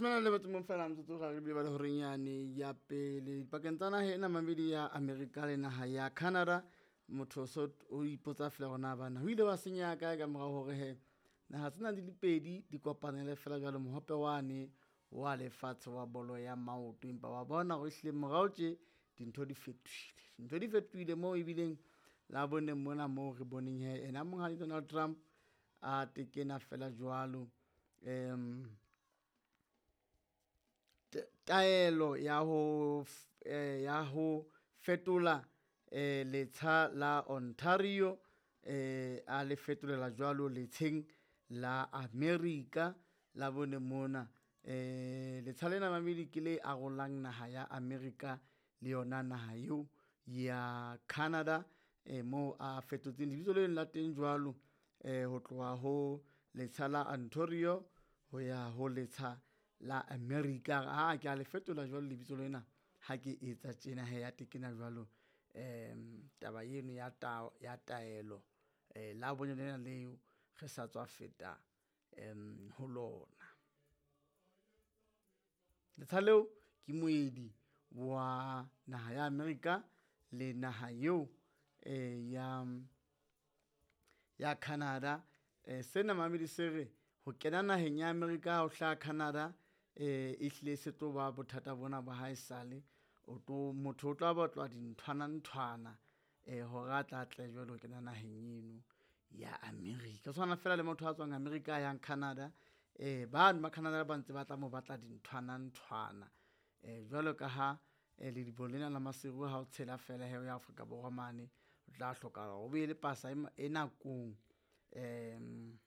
Leshome le metso mong fela metsotso ga re bile ba le horeng yane ya pele pakeng tsa naha ena mamedi ya Amerika le naha ya Canada. Motho so o ipotsa fela hore na bana ho ile wa senyeha kae ka mora hore he naha tsena di le pedi di kopanele fela jwalo mohope wane wa lefatshe wa bolo ya maoto. Empa wa bona hore ehlile morao tje dintho di fetohile, dintho di fetohile moo ebileng la boneng mona moo re boneng he ena monghadi Donald Trump a tekena fela jwalo taelo ya ho ya ho fetola letsha la Ontario a le fetolela jwalo letsheng la America la bone mona. Letsha lena mamedi ke le arolang naha ya America le yona naha eo ya Canada, moo a fetotseng lebitso leno la teng jwalo ho tloha ho letsha la Ontario ho ya ho letsha la America. A re aa ke a le fetola jwalo lebitso lena ha ke etsa tjena hee a tekena jwalo taba eno ya ya taelo la bone lena leo re sa tswa feta ho lona. Letsha leo ke moedi wa naha ya America le naha eo ya, ya Canada. Sena mamedi se re ho kena naheng ya America ha o hlaha Canada ehlile se tlo ba bothata bona ba haesale. O tlo, motho o tla batlwa dinthwana nthwana hore a tla tle jwale ho kena naheng eno ya America. Ho tshwana fela le motho a tswang America a yang Canada, bano ba Canada ba ntse ba tla mo batla dinthwana nthwana. Jwalo ka ha lediboho lena la Maseru ha o tshela fela he o ya Afrika Borwa mane, o tla hlokahala hore o be le pasa e e nakong .